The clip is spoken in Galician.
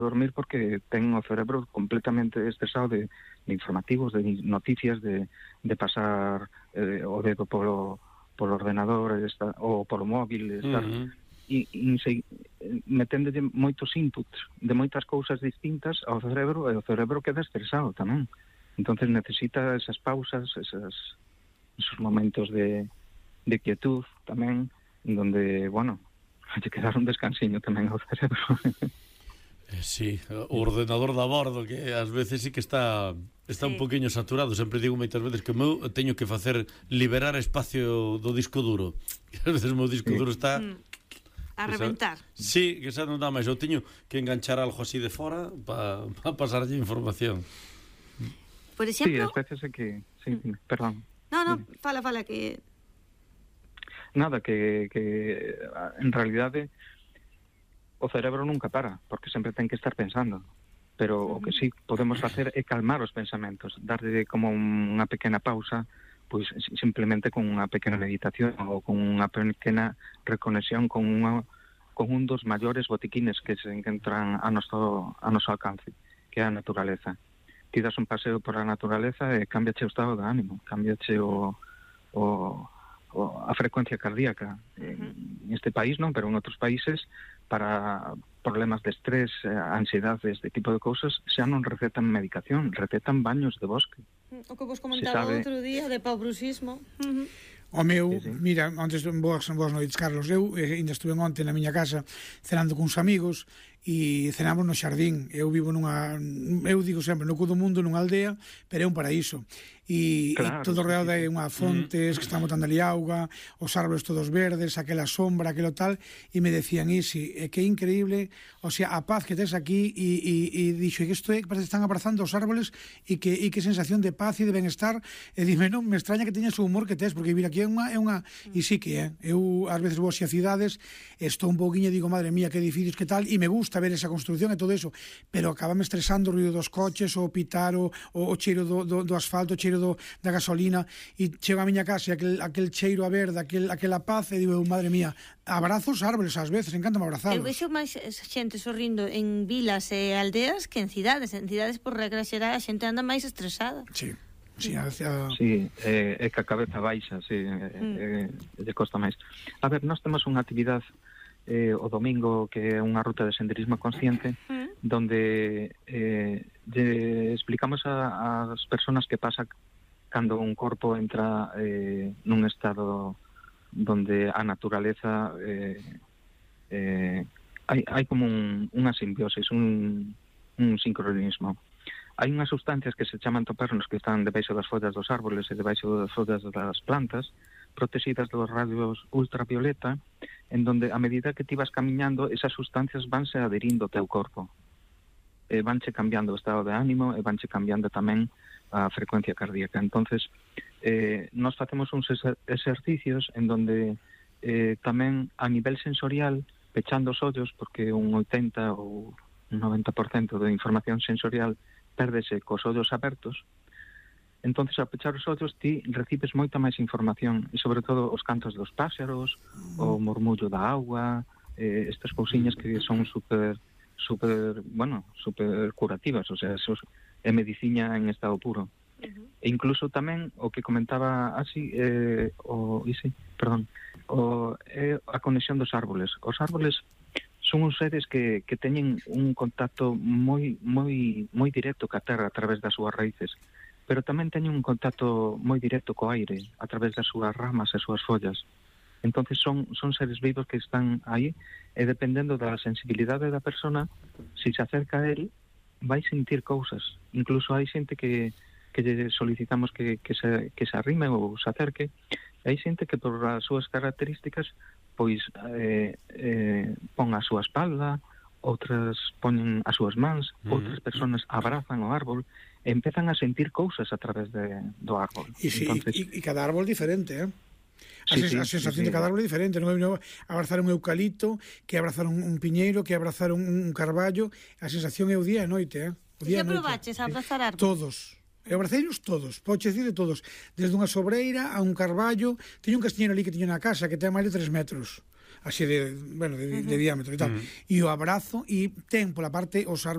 dormir porque ten o cerebro completamente estresado de informativos, de noticias, de pasar o dedo polo ordenador ou polo móvil, estar meténdole moitos inputs de moitas cousas distintas ao cerebro, e o cerebro queda estresado tamén. Entonces necesita esas pausas, esos momentos de quietud tamén, donde, bueno, hai que dar un descansiño tamén ao cerebro. Sí, o ordenador da bordo, que ás veces sí que está un poquinho saturado. Sempre digo moitas veces que eu teño que facer liberar espacio do disco duro. Ás veces o meu disco duro está a reventar. Sí, que xa non dá máis. Eu teño que enganchar algo así de fora para pasarlle información. Por exemplo... Sí, as veces é que... Sí, perdón. No, fala que... Nada, que en realidade o cerebro nunca para, porque sempre ten que estar pensando. Pero o que sí podemos facer é calmar os pensamentos, darle como unha pequena pausa, pois simplemente con unha pequena meditación ou con unha pequena reconexión con un dos maiores botiquines que se encontran a noso alcance, que é a naturaleza. Ti das un paseo por a naturaleza e cambiache o estado de ánimo, cambiache a frecuencia cardíaca. En este país non, pero en outros países, para problemas de estrés, ansiedade, este tipo de cousas, xa non recetan medicación, recetan baños de bosque. O que vos comentaba outro día de paubruxismo. O meu, mira, antes, boas noites, Carlos. Eu ainda estuve onte na miña casa cenando con uns amigos e cenamos no xardín. Eu vivo eu digo sempre, no cu do mundo, nunha aldea, pero é un paraíso. E todo rodeado de unha fontes que están botando ali auga, os árboles todos verdes, aquela sombra, aquelo tal, e me decían, Isi, que é increíble, o sea, a paz que tes aquí, e dixo, que isto é, parece que están abrazando os árboles, e que sensación de paz e de benestar, e dime, non, me extraña que teñas o humor que tes, porque vir aquí é unha... E sí que é, eu ás veces vou a cidades, estou un pouquinho e digo, madre mía, que edificios, que tal, e me gusta ver esa construcción e todo eso, pero acabame estresando o ruido dos coches, o pitar, o cheiro do asfalto, o cheiro da gasolina, e chego a miña casa e aquel cheiro a verde, aquela paz, e digo, madre mía, abrazo os árboles ás veces, encántame abrazarlos. Eu vexo máis xente sorrindo en vilas e aldeas que en cidades. En cidades, por regra xeral, a xente anda máis estresada. Sí, é que a cabeza baixa, lle costa máis. A ver, nós temos unha actividade o domingo que é unha ruta de senderismo consciente, donde lle explicamos ás persoas que pasa cando un corpo entra nun estado donde a naturaleza hai como unha simbiosis, un sincronismo. Hai unhas sustancias que se chaman topérnos que están debaixo das follas dos árboles e debaixo das follas das plantas, protegidas dos radios ultravioleta, en donde a medida que ti vas camiñando, esas sustancias vanse adherindo ao teu corpo, vanche cambiando o estado de ánimo e vanche cambiando tamén a frecuencia cardíaca. Entonces, nós facemos uns exercicios en donde tamén a nivel sensorial, pechando os ollos, porque un 80 ou un 90% de información sensorial pérdese cos ollos abertos, entonces ao pechar os ollos ti recibes moita máis información, e sobre todo os cantos dos páxaros, o murmullo da auga, estas cousiñas que son super curativas, o sea, eso é medicina en estado puro. E incluso tamén o que comentaba así, a conexión dos árboles. Os árboles son uns seres que teñen un contacto moi directo ca terra a través das súas raíces, pero tamén teñen un contacto moi directo co aire a través das súas ramas e súas follas. Entonces son seres vivos que están aí, e dependendo da sensibilidade da persona, se se acerca a él, vai sentir cousas. Incluso hai xente que lle solicitamos que se arrime ou se acerque, e hai xente que por as súas características pois pon a súa espalda, outras poñen as súas mans, outras personas abrazan o árbol e empezan a sentir cousas a través do árbol. E cada árbol diferente, A sensación de cada árbol é diferente. Non é abrazar un eucalipto que abrazar un piñeiro, que abrazar un carballo. A sensación é o día e a noite, Xa probaches a abrazar árboles? Todos. Eu abraceiros todos, podes decir de todos, desde unha sobreira a un carballo. Teño un castiñeiro ali que teño na casa que ten máis de 3 metros, así de diámetro e tal, e o abrazo, e ten pola parte os árboles